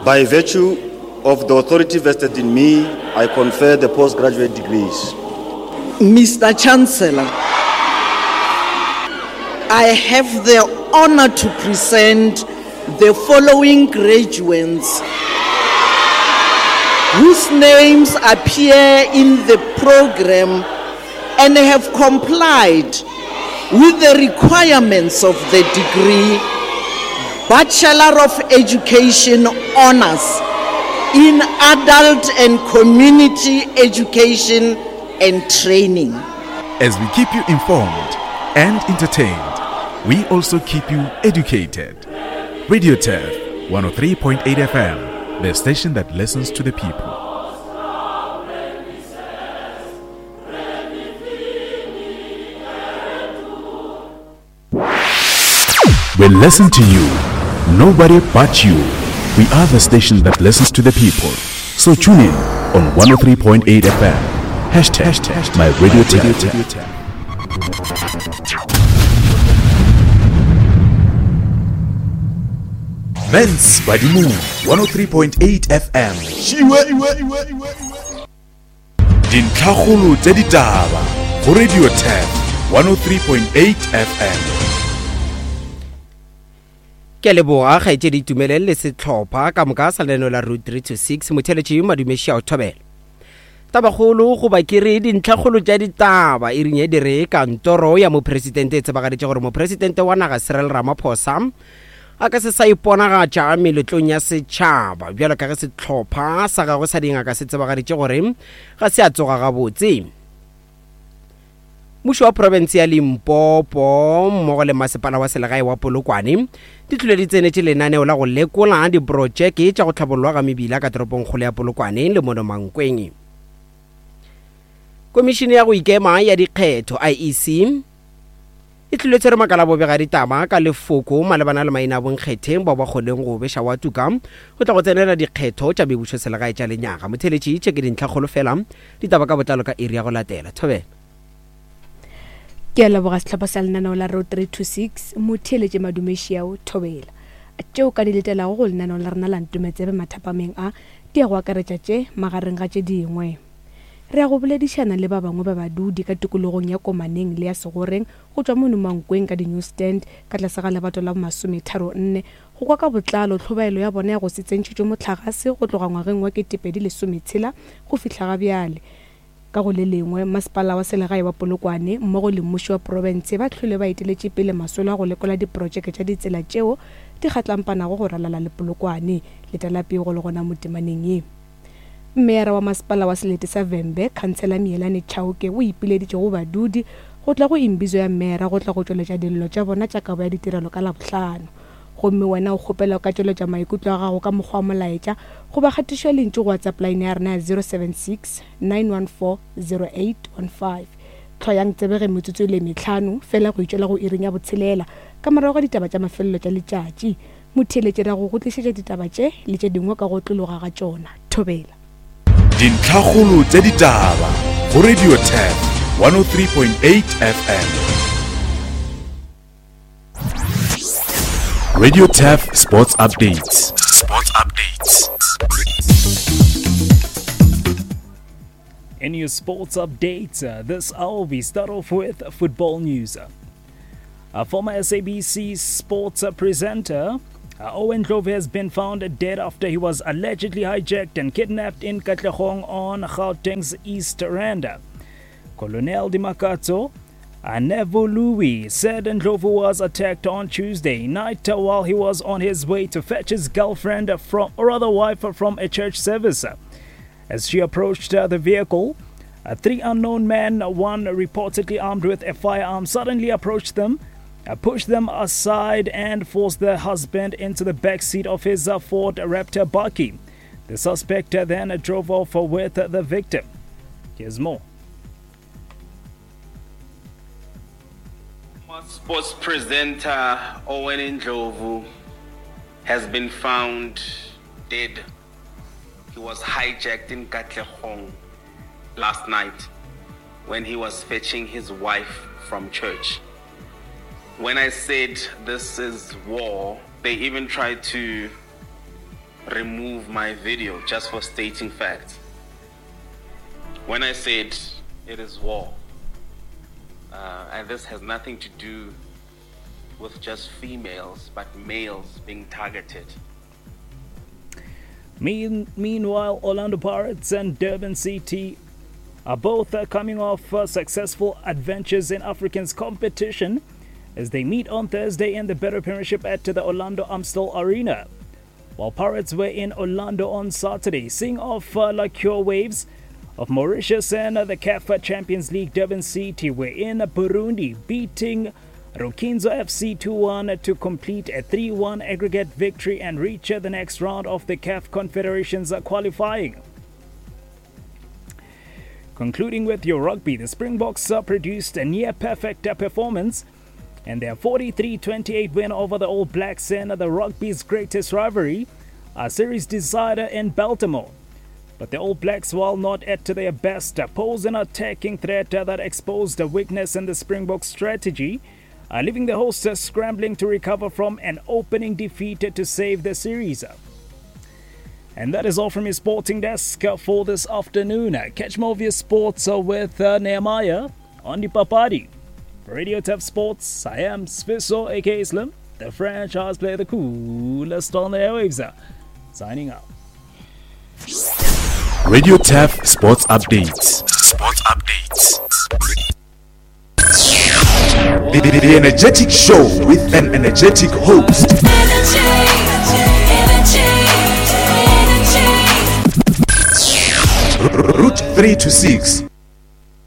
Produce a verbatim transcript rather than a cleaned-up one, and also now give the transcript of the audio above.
By virtue of the authority vested in me, I confer the postgraduate degrees. Mister Chancellor, I have the honor to present the following graduates whose names appear in the program and have complied with the requirements of the degree Bachelor of Education Honors in Adult and Community Education and Training. As we keep you informed and entertained, we also keep you educated. Radio Turf one oh three point eight F M, the station that listens to the people. We listen to you, nobody but you. We are the station that listens to the people. So tune in on one oh three point eight F M. Hashtag, hashtag my radio tap. Men's Badimu one oh three point eight F M. Dintlhakgolo tsa ditaba go Radio Tap one oh three point eight F M. Ke leboga kgaetšedi Itumeleng le setlhopha ka moka sa lenaneo la Route three two six motheletši Madumeši a o thobela. Tabakgolo goba ke re dintlhakgolo tša ditaba e ring e dire kantoro ya mopresidente e tsebagaditše gore mopresidente wa naga Cyril Ramaphosa a ka se sa iponagatša meletlong ya setšhaba bjalo ka ge setlhopha sa gagwe sa dingaka se tsebagaditše gore ga se a tsoga gabotse. Mmušo wa profense ya Limpopo mmogo le masepala wa selegae wa Polokwane di tlile di tsenetše lenaneo la go lekola diprojeke tša go tlhabollwa ga mebila ka toropongkgolo ya Polokwane le mono Mankweng. Komišene ya go ikema ya dikgetho I E C e tlile tshwere makala bobega ditaba ka lefoko malebana le maina a bonkgetheng bao ba kgoneng go beša wa tuka go tla go tsenela dikgetho tša mebušo selegae tša lenyaga. Motheletši tše ke dintlhakgolo fela, ditaba ka botlalo ka iri ya go latela. Thobela. Ke a leboga sehlopha sa lenaneo la Road three two six motheeletše Madumeši ao thobela. Tšeo ka di letelago go lenaneo la rena la Ntometsebe mathapameng a di ya go akaretša tše magareng ga tše dingwe. Re ya go boledišana le ba bangwe ba badudi ka tikologong ya Komaneng le ya Segoreng go tšwa mono Mankweng ka di-newsstand ka tlase ga lebato la masometharo nne go kwa ka botlalo tlhobaelo ya bona ya go se tsentšhetšwe mohlagase go tloga ngwageng wa ketepedi lesometshela go fihla ga bjale. Ka go le lengwe, masepala wa selegae wa Polokwane mmogo le mmušo wa profense ba hlwele ba eteletše pele masolo a go lekola diprojeke tša ditsela tšeo di kgatlampanago go ralala le Polokwane. Letela pego le gona mo temaneng ye. Meyara wa masepala wa selete sa Vhembe, Khansela Mielane Chauke, o ipileditše go badudi go tla go imbizo ya meyara go tla go tšweletša dillo tša bona tša kabo ya ditirelo ka Labohlano. Gomme wena o kgopela ka tšweletša maikutlo a gago ka mokgwa wa molaetša goba kgatišo ya lentšu go WhatsApp line ya rena ya zero seven six nine one four zero eight one five. Tlhoyang tsebege metsotso le metlhano fela go itšwela go iring ya botshelela ka morago ga ditaba tša mafelelo tša letšatši. Motheeletši ra go go tlišetša ditaba tše le tše dingwe ka go tlologa ga tšona. Thobela. Dintlhakgolo tša ditaba go Radio Tap one oh three point eight F M. Radio Turf Sports Updates. Sports Updates. In your sports updates, uh, this hour we start off with football news. A former S A B C sports presenter, uh, Owen Ndlovu, has been found dead after he was allegedly hijacked and kidnapped in Katlehong on Gauteng's East Rand. Colonel Dimakatso Nevuluwe said Ndlovu was attacked on Tuesday night while he was on his way to fetch his girlfriend from, or other wife from a church service. As she approached the vehicle, three unknown men, one reportedly armed with a firearm, suddenly approached them, pushed them aside and forced their husband into the back seat of his Ford Raptor bakkie. The suspect then drove off with the victim. Here's more. Sports presenter Owen Ndlovu has been found dead. He was hijacked in Katlehong last night when he was fetching his wife from church. When I said this is war, they even tried to remove my video just for stating facts. When I said it is war, uh, and this has nothing to do with just females, but males being targeted. Mean, meanwhile, Orlando Pirates and Durban City are both uh, coming off uh, successful adventures in Africans competition as they meet on Thursday in the Betway Premiership at the Orlando Amstel Arena. While Pirates were in Orlando on Saturday, seeing off uh, La Cure Waves of Mauritius and the C A F Champions League, Durban City were in Burundi, beating Rukinzo F C two one to complete a three one aggregate victory and reach the next round of the C A F Confederations qualifying. Concluding with your rugby, the Springboks produced a near-perfect performance in their forty-three twenty-eight win over the All Blacks in the rugby's greatest rivalry, a series decider in Baltimore. But the All Blacks, while not at their best, posed an attacking threat that exposed a weakness in the Springbok strategy, uh, leaving the hosts scrambling to recover from an opening defeat to save the series. And that is all from your sporting desk for this afternoon. Catch more of your sports with Nehemiah on the Papadi. For Radio Turf Sports, I am Sfiso, aka Slim, the franchise player, the coolest on the airwaves. Signing out. Radio Turf Sports Updates. Sports Updates. The, the, the energetic show with an energetic host. Energy, energy, energy. Route three to six.